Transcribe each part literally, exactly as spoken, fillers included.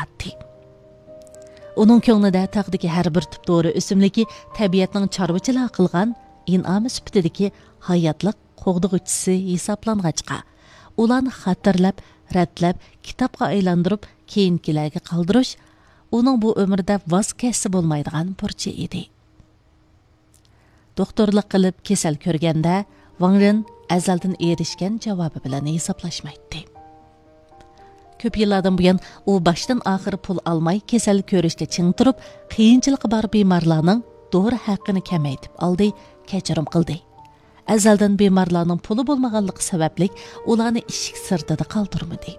ئاتتى. ئۇنىڭ كۆڭلىدە تاغدىكى ھەر بىر تۈپ دورا ئۆسۈملۈكى تەبىئەتنىڭ چارۋىچىلار قىلغان ئىنئامى سۈپىتىدىكى ھاياتلىق قوغدىغۇچىسى ھېسابلانغاچقا، ئۇلارنى خاتىرىلەپ، رەتلەپ، كىتابقا ئايلاندۇرۇپ، كېيىنكىلەرگە قالدۇرۇش ئۇنىڭ بۇ ئۆمرىدە ۋاز كەچسە بولمايدىغان بۇرچى ئىدى. دوختۇرلۇق قىلىپ كېسەل كۆرگەندە، ۋاڭ رېن ئەزەلدىن ئېرىشكەن جاۋابى بىلەن ھېسابلاشمايتتى. كۆپ يىللاردىن بۇيان ئۇ باشتىن ئاخىر پۇل ئالماي كېسەل كۆرۈشتە چىڭ تۇرۇپ، قىيىنچىلىقى بار بىمارلارنىڭ دورا ھەققىنى كەمەيتىپ ئالدى، كەچۈرۈم قىلدى. ئەزەلدىن بىمارلارنىڭ پۇلى بولمىغانلىقى سەۋەبلىك ئۇلارنى ئىشىك سىرتىدا قالدۇرمىدى.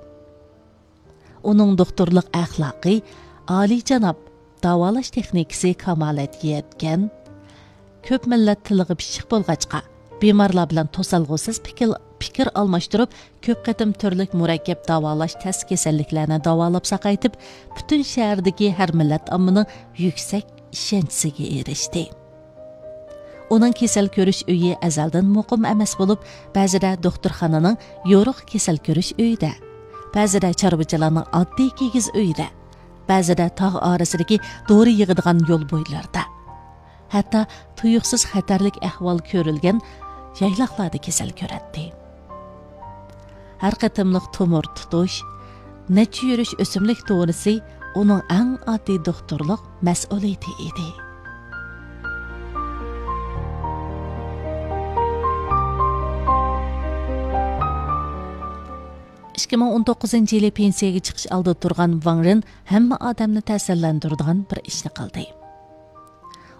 ئۇنىڭ دوختۇرلۇق ئەخلاقى ئالىيجاناب، داۋالاش تېخنىكىسى كامالەتكە يەتكەن، كۆپ مىللەت تىلىغا پىششىق بولغاچقا، بىمارلار بىلەن توسالغۇسىز پىكىر، پىكىر ئالماشتۇرۇپ، كۆپ قېتىم تۈرلۈك مۇرەككەپ داۋالاش تەس كېسەللىكلەرنى داۋالاپ ساقايتىپ، پۈتۈن شەھەردىكى ھەر مىللەت ئاممىنىڭ يۈكسەك ئىشەنچىسىگە ئېرىشتى. ئۇنىڭ كېسەل كۆرۈش ئۆيى ئەزەلدىن مۇقىم ئەمەس بولۇپ، بەزىدە دوختۇرخانىنىڭ يورۇق كېسەل كۆرۈش ئۆيىدە، بەزىدە چارۋىچىلارنىڭ ئاددىي كىگىز ئۆيىدە، بەزىدە تاغ ئارىسىدىكى دورا يىغىدىغان يول بويلىرىدا، ھەتتا تۇيۇقسىز خەتەرلىك ئەھۋال كۆرۈلگەن يايلاقلاردا كېسەل كۆرەتتى. ھەر قېتىملىق تومۇر تۇتۇش، نەچچە يۈرۈش ئۆسۈملۈك دورىسى ئۇنىڭ ئەڭ ئاددىي دوختۇرلۇق مەسئۇلىيىتى ئىدى. ئىككى مىڭ ئون توققۇزىنچى يىلى پېنسىيەگە چىقىش ئالدىدا تۇرغان ۋاڭ رېن ھەممە ئادەمنى تەسىرلەندۈرىدىغان بىر ئىشنى قىلدى.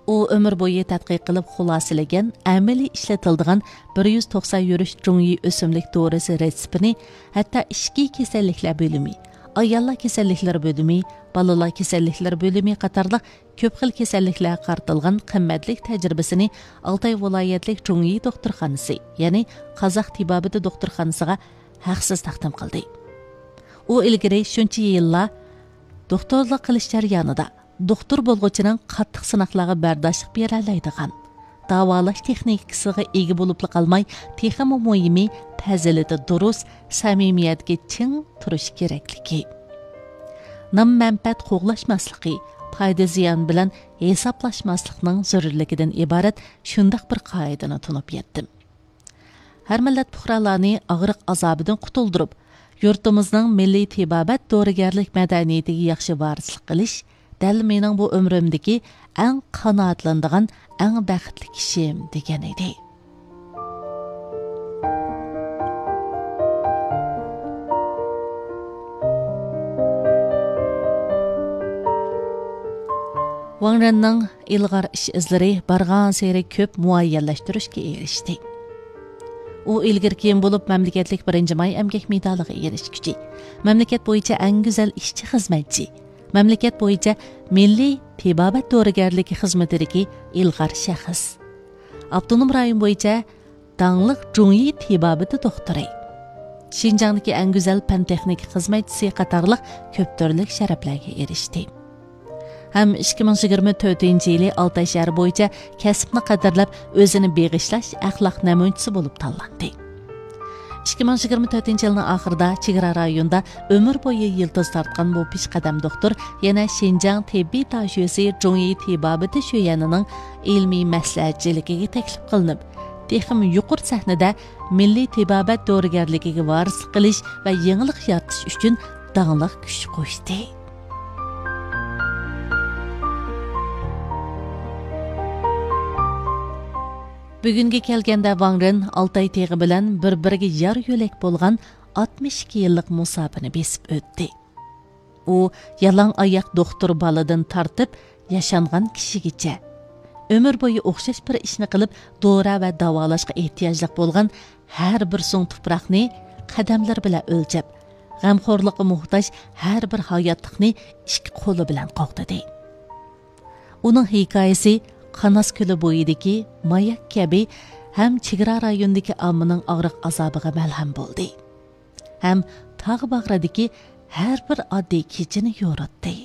ئۇ ئۆمۈر بويى تەتقىق قىلىپ خۇلاسىلىگەن ئەمەلىي ئىشلىتىلىدىغان بىر يۈز توقسان يۈرۈش جۇڭيى ئۆسۈملۈك دورىسى رېتسېپىنى ھەتتا ئىچكى كېسەللىكلەر بۆلۈمى، ئاياللار كېسەللىكلىرى بۆلۈمى، بالىلار كېسەللىكلىرى بۆلۈمى قاتارلىق كۆپ خىل كېسەللىكلەرگە قارىتىلغان قىممەتلىك تەجرىبىسىنى ئالتاي ۋىلايەتلىك جۇڭيى دوختۇرخانىسى، يەنى قازاق تېبابىتى دوختۇرخانىسىغا ھەقسىز تەقدىم قىلدى. ئۇ ئىلگىرى شۇنچە يىللار دوختۇرلۇق قىلىش جەريانىدا، دوختۇر بولغۇچىنىڭ قاتتىق سىناقلارغا بەرداشلىق بېرەلەيدىغان، داۋالاش تېخنىكىسىغا ئىگە بولۇپلا قالماي، تېخىمۇ مۇھىمى، پەزىلىتى دۇرۇس، سەمىمىيەتكە چىڭ تۇرۇش كېرەكلىكى، نام-مەنپەئەت قوغلاشماسلىقى، پايدا-زىيان بىلەن ھېسابلاشماسلىقنىڭ زۆرۈرلۈكىدىن ئىبارەت شۇنداق بىر قائىدىنى تونۇپ يەتتىم. ھەر مىللەت پۇقرالارنى ئاغرىق ئازابىدىن قۇتۇلدۇرۇپ، يۇرتىمىزنىڭ مىللىي تېبابەت دورىگەرلىك مەدەنىيىتىگە ياخشى ۋارىسلىق قىلىش دەل مېنىڭ بۇ ئۆمرۈمدىكى ئەڭ قانائەتلىنىدىغان، ئەڭ بەختلىك ئىشىم، دېگەن ئىدى. ۋاڭ رېننىڭ ئىلغار ئىش ئىزلىرى بارغانسېرى كۆپ مۇئەييەنلەشتۈرۈشكە ئېرىشتى. ئۇ ئىلگىرى كېيىن بولۇپ مەملىكەتلىك بىرىنچى ماي ئەمگەك مېدالىغا ئېرىشكۈچى، مەملىكەت بويىچە ئەڭ گۈزەل ئىشچى خىزمەتچى، مەملىكەت بويىچە مىللىي تېبابەت دورىگەرلىكى خىزمىتىدىكى ئىلغار شەخس، ئاپتونوم رايون بويىچە داڭلىق جۇڭيى تېبابىتى دوختۇرى، شىنجاڭدىكى ئەڭ گۈزەل پەن-تېخنىكا خىزمەتچىسى قاتارلىق كۆپ تۈرلۈك شەرەپلەرگە ئېرىشتى. ھەم ئىككى مىڭ يىگىرمە تۆتىنچى يىلى ئالتاي شەھىرى بويىچە كەسىپنى قەدىرلەپ، ئۆزىنى بېغىشلاش ئەخلاق نەمۇنىچىسى بولۇپ تاللاندى. ئىككى مىڭ يىگىرمە تۆتىنچى يىلنىڭ ئاخىرىدا چېگرا رايونىدا ئۆمۈر بويى يىلتىز تارتقان بۇ پېشقەدەم دوختۇر يەنە شىنجاڭ تېببىي داشۆسى جۇڭيى تېبابىتى شۆيۈەنىنىڭ ئىلمىي مەسلىھەتچىلىكىگە تەكلىپ قىلىنىپ، تېخىمۇ يۇقىرى سەھنىدە مىللىي تېبابەت دورىگەرلىكىگە ۋارىسلىق قىلىش ۋە يېڭىلىق يارىتىش ئۈچۈن داڭلىق كۈچ قوشتى. بۈگۈنگە كەلگەندە، ۋاڭ رېن ئالتاي تېغى بىلەن بىر-بىرىگە يار-يۆلەك بولغان ئاتمىش ئىككى يىللىق مۇساپىنى بېسىپ ئۆتتى. ئۇ يالاڭ ئاياق دوختۇر بالىدىن تارتىپ ياشانغان كىشىگىچە، ئۆمۈر بويى ئوخشاش بىر ئىشنى قىلىپ، دورا ۋە داۋالاشقا ئېھتىياجلىق بولغان ھەر بىر سۇڭ تۇپراقنى قەدەملىرى بىلەن ئۆلچەپ، غەمخورلۇققا موھتاج ھەر بىر ھاياتلىقنى ئىككى قولى بىلەن قوغدىدى. ئۇنىڭ ھېكايىسى قاناس كۆلى بويىدىكى ماياك كەبى ھەم چېگرا رايونىدىكى ئاممىنىڭ ئاغرىق-ئازابىغا مەلھەم بولدى. ھەم تاغ باغرىدىكى ھەر بىر ئاددىي كېچىنى يورۇتتى.